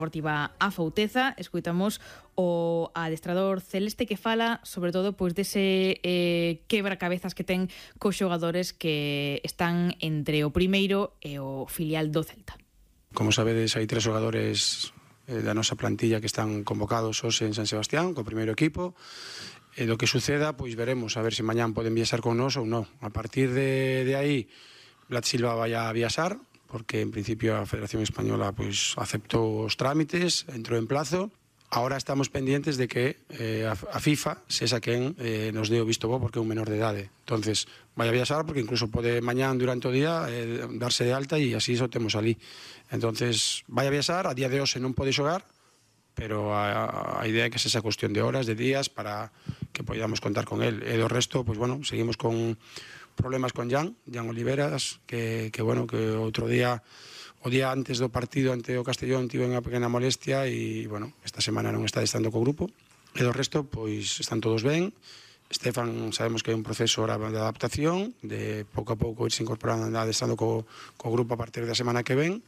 Deportiva A Fouteza. Escoitamos o adestrador celeste que fala sobre todo pois dese quebracabezas que ten cos xogadores que están entre o primeiro e o filial do Celta. Como sabedes, hai 3 xogadores da nosa plantilla que están convocados hoxe en San Sebastián co primeiro equipo. E do que suceda, pois veremos a ver se mañán poden viaxar con nós ou non. A partir de aí, Vlad Silva vai a viaxar, porque en principio a Federación Española pois aceptou os trámites, entrou en plazo. Ahora estamos pendientes de que a FIFA sexa quen nos dé o visto bo porque é un menor de idade. Entonces, vai a viaxar porque incluso pode mañán durante o día darse de alta e así iso temos ali. Entonces, vai a viaxar, a día de hoxe non pode xogar, pero a idea é que sexa cuestión de horas, de días, para que podamos contar con él. E do resto, pois bueno, seguimos con problemas con Jan Oliveras, que outro día, o día antes do partido ante o Castellón, tivo unha pequena molestia e, bueno, esta semana non está estando co grupo. E do resto, pois, están todos ben. Estefan, sabemos que hai un proceso ahora de adaptación, de pouco a pouco irse incorporando, estando co grupo a partir da semana que ven,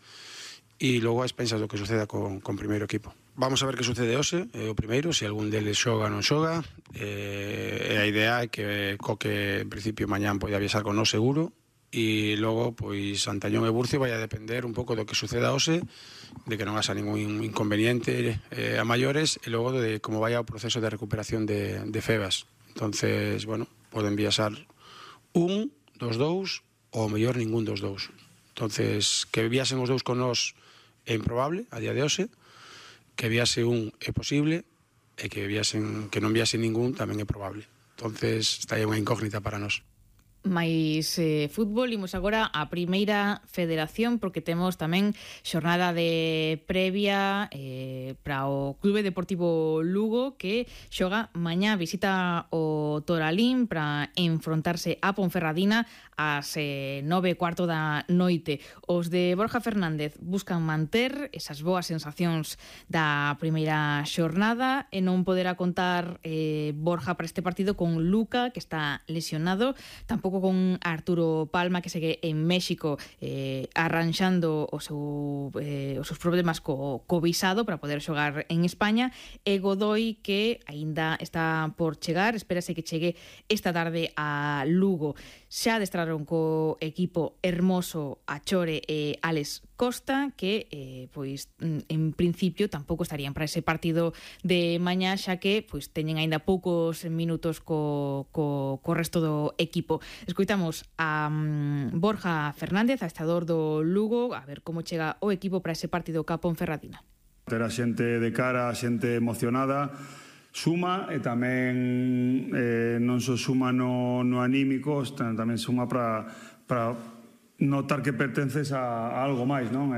e logo a expensas do que suceda con primeiro equipo. Vamos a ver que sucede hoxe, o primeiro, se algún deles xoga ou non xoga, e a idea é que Coque, en principio, mañán poida viaxar con nós seguro, e logo, pois, Antañón e Burcio vai a depender un pouco do que suceda hoxe, de que non haxa ningún inconveniente a maiores, e logo de como vai o proceso de recuperación de Febas. Entonces, bueno, poden viaxar un dos dous, ou mellor ningún dos dous. Entonces, que viaxen os dous con nós é improbable a día de hoxe, que viase un é posible, e que non viase ningún tamén é probable. Entonces, está aí unha incógnita para nós. Mais fútbol, imos agora a Primeira Federación, porque temos tamén xornada de previa para o Clube Deportivo Lugo, que xoga mañá, visita o Toralín para enfrontarse a Ponferradina ás 9:15 da noite. Os de Borja Fernández buscan manter esas boas sensacións da primeira xornada e non poderá contar Borja para este partido con Luca, que está lesionado, tampouco con Arturo Palma, que segue en México arranxando os seus problemas co visado para poder xogar en España, e Godoy, que aínda está por chegar, espérase que chegue esta tarde a Lugo. Xa adestraron co equipo Hermoso, Achore e Alex Costa, que pois en principio tampouco estarían para ese partido de mañá, xa que pois teñen aínda poucos minutos co resto do equipo. Escoitamos a Borja Fernández, adestrador do Lugo, a ver como chega o equipo para ese partido ca Ponferradina. Ter a xente de cara, a xente emocionada, suma, e tamén non só suma no anímico, tamén suma para notar que pertences a algo máis, non?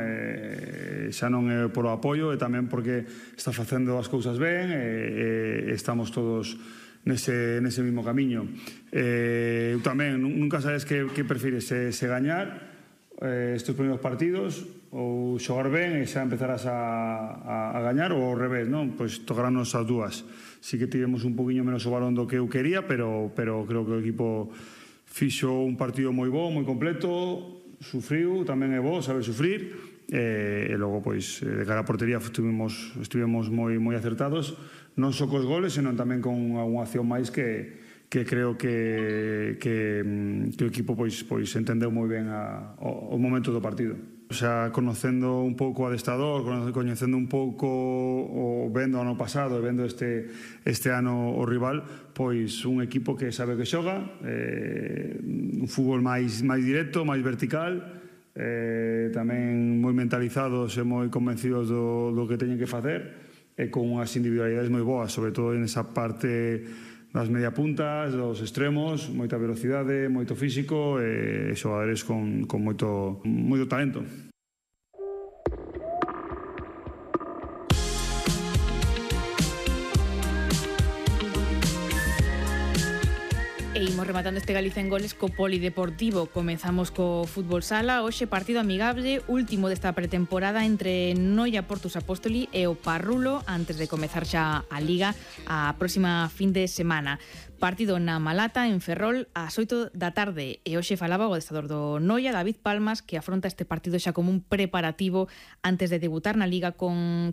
Xa non é por o apoio, e tamén porque está facendo as cousas ben, e estamos todos nese mismo camiño. Eu tamén, nunca sabes que prefires, se gañar estes primeiros partidos ou xogar ben e xa empezarás a gañar, ou ao revés, non? Pois tocaránnos as dúas. Sí que tivemos un poquinho menos o balón do que eu quería, pero creo que o equipo fixo un partido moi bo, moi completo, sufriu, tamén é bo saber sufrir, e logo, pois, de cara a portería estivemos moi acertados, non só cos goles, senón tamén con unha acción máis que creo que o equipo pois entendeu moi ben o momento do partido. O sea, conocendo un pouco o adestrador, coñecendo un pouco o vendo o ano pasado e vendo este ano o rival, pois un equipo que sabe que xoga, un fútbol máis directo, máis vertical, tamén moi mentalizados e moi convencidos do que teñen que facer, e con unhas individualidades moi boas, sobre todo en esa parte das media puntas, dos extremos, moita velocidade, moito físico e xogadores con moito talento. E imos rematando este Galicia en Goles co Polideportivo. Comezamos co fútbol sala. Hoxe partido amigable, último desta pretemporada entre Noia Portus Apóstoli e o Parrulo antes de comezar xa a Liga a próxima fin de semana. Partido na Malata, en Ferrol, ás 8 da tarde. E hoxe falaba o adestrador do Noia, David Palmas, que afronta este partido xa como un preparativo antes de debutar na Liga con